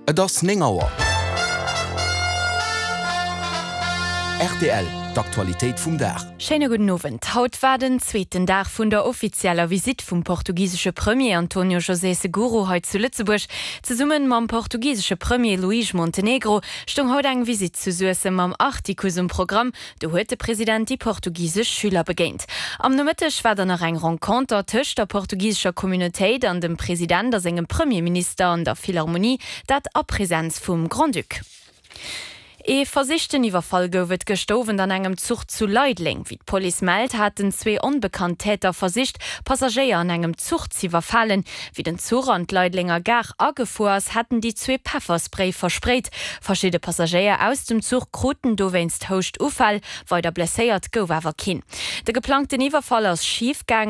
Et ass 9 Auer. Rtl, D'Aktualitéit vum Dag. Schéine gudden Owend. Haut war den zweeten Dag vun der offizieller Visitt vum portugisesche Premier Antonio José Seguro hei zu Lëtzebuerg. Zesumme mam portugisesche Premier Luís Montenegro stoung haut eng Visitt zu Suessem am Artikuss um Programm. Do huet de President déi portugisesch Schüler begéint. Am Nomëtteg war dann nach eng Renconter tëscht der portugisescher Communautéit an dem President a sengem Premierminister an der Philharmonie, dat a Presenz vum Grand-Duc. Ee versichten Iwwerfall gouf et gëschter Owend an engem Zuch zu Leideleng. Wéi d'Police mellt, haten zwee onbekannt Täter versicht, Passagéier an engem Zuch z'iwwerfalen. Wéi den Zuch an d'Leidelenger Gare agefuer ass, hätten déi zwee Pefferspray versprayt. Verschidde Passagéier aus dem Zuch kruten dowéinst Houschtuffäll, weider blesséiert gouf awer keen. De geplangten Iwwerfall ass schif gaangen.